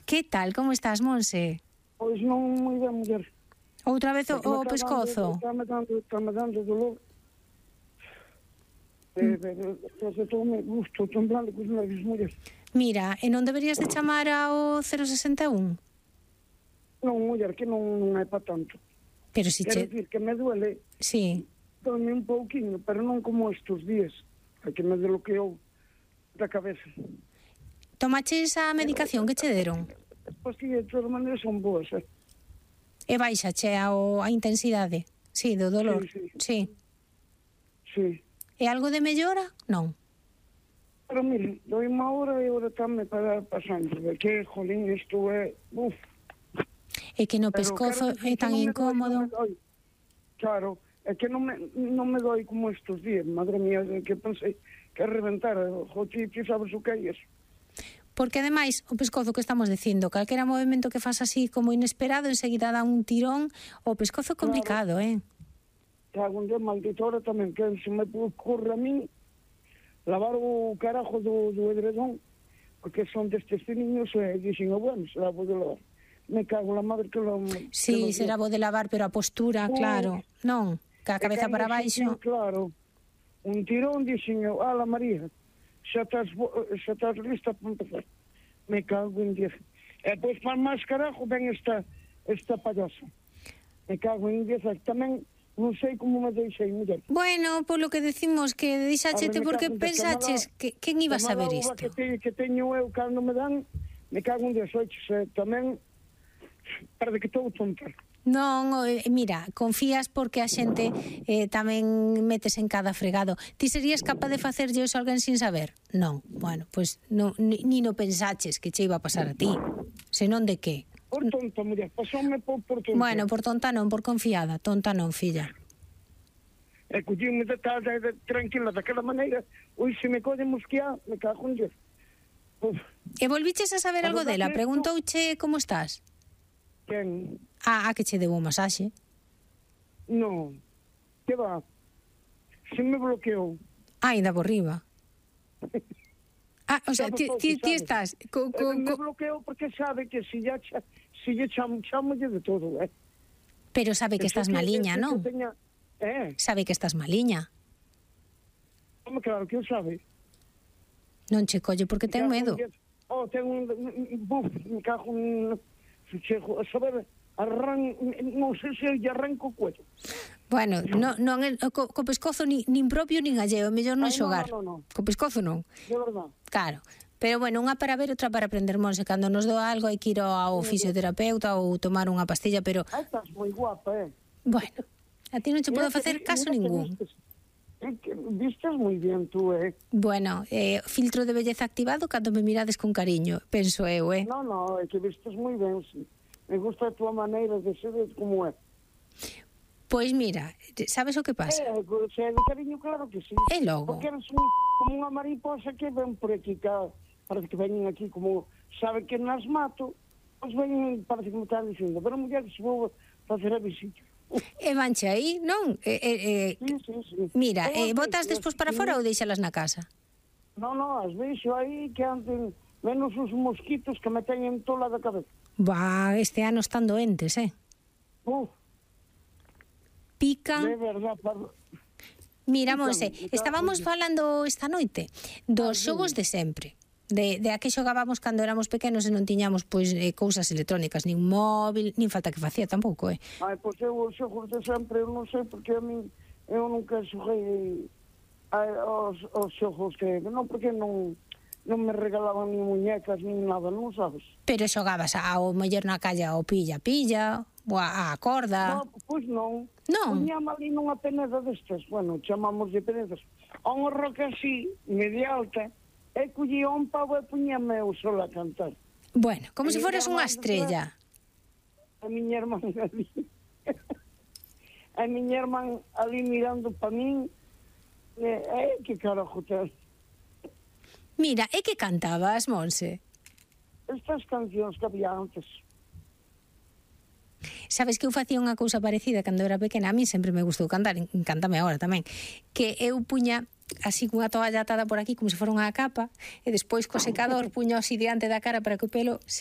Que tal, como estás, Monse? Pois non moi ben, muller. Outra vez o pescozo? Está-me dando dolor. Estou temblando cos nervios, muller. Mira, e non deberías de chamar ao 061? Non, muller, que non é para tanto. Pero si Quero che... dicir que me duele, Sí. duele un pouquinho, pero non como estes días, que me desbloqueou da cabeza. Tomaches a medicación que che deron? As pastillas de todas maneiras son boas, E baixache a intensidade? Sí, do dolor? Sí. Sí. E algo de mellora? Non. Pero mire, doi unha hora e agora tamén para pasando, que, jolín, isto é... Uf. É que no pescozo é tan incómodo. Claro, é que non me doi como estes días, madre mía, que pensei que reventar, ti sabes o que é iso. Porque ademais, o pescozo que estamos dicindo, calquera movimento que faz así como inesperado, enseguida dá un tirón, o pescozo é complicado, Cago en Dios, maldito, ahora tamén, que se me ocurre a mí lavar o carajo do edredón, porque son destes niños e dixen, bueno, será bo de lavar. Me cago la madre que lo... Sí, será bo de lavar, pero a postura, claro, non, ca cabeza para baixo. Claro, un tirón, dixen, ala María, xa estás lista para empezar. Me cago en Dios. E pois para máis carajo ven esta payasa. Me cago en Dios, tamén non sei como me deixei, muller. Bueno, polo que decimos que deixáchete porque pensaches que quen iba a saber isto? Que teño eu cando me dan, me cago en Dios, tamén parece que estou tonta. Non, mira, confías porque a xente tamén metes en cada fregado. Ti serías capaz de facerlle iso a alguén sin saber? Non, bueno, pois ni no pensaches que che iba a pasar a ti. Senón de que? Por tonta, muller, pasoume por tonta. Bueno, por tonta non, por confiada. Tonta non, filla. E collíme tranquila daquela maneira. Ui, se me colle mosquear, me cago en Dios. E volviches a saber algo dela? Preguntouche como estás? Quen? A que che deu un masaxe. Non, que va? Se me bloqueou. Ainda por riba. O sea, ti estás... Me bloqueou porque sabe que si lle chamo de todo, Pero sabe que estás maliña, non? Sabe que estás maliña. Claro que o sabe. Non che colle porque ten medo. Ten un... me cago en... a saber, non sei se lle arranco o cuello. Bueno, co pescozo nin propio nin alleo, é mellor non xogar. Non. Co pescozo non. De verdad. Claro. Pero bueno, unha para ver, outra para aprender, Monse. Cando nos doa algo hai que ir ao fisioterapeuta ou tomar unha pastilla, pero... Estás moi guapa, Bueno, a ti non che podo facer caso ningún. Vistes moi bien tú, Bueno, filtro de belleza activado cando me mirades con cariño, penso eu, Non, é que vistes moi ben, sí. Me gusta a tua maneira de ser como é. Pois mira, sabes o que pasa? Se é de cariño, claro que sí. E logo? Porque eres como unha mariposa que ven por aquí, parece que veñen aquí como sabe que nas mato, pois veñen, parece que me están dicindo, pero muller, se vou facer a visita. E vanche aí, non? Sí. Mira, botas despois para fora ou deixalas na casa? Non, as deixo aí que anden menos os mosquitos que me teñen tola da cabeza. Este ano están doentes, Pican. De verdad, Mira, Monse, estábamos falando esta noite dos xogos de sempre. De a que xogábamos cando éramos pequenos e non tiñamos pois cousas electrónicas, nin móvil, nin falta que facía tampouco, Pois eu os xogos de sempre, eu non sei porque a min eu nunca xoguei os xogos que non, porque non me regalaban nin muñecas nin nada, non sabes? Pero xogabas ao mellor na calle ao pilla, ou a corda. Non, pois non. Non. Puñame ali nunha peneda destas, bueno, chamamos de penedas, a unha roca así, media alta, e collía un pavo e puñame eu sola a cantar. Bueno, como se foras unha estrella. A miña irmán ali, mirando pa min, que carajo te... Mira, e que cantabas, Monse? Estas cancións que había antes. Sabes que eu facía unha cousa parecida cando era pequena, a mí sempre me gustou cantar, encántame agora tamén, que eu puña así cunha toalla atada por aquí como se fora unha capa, e despois co secador puño así diante da cara para que o pelo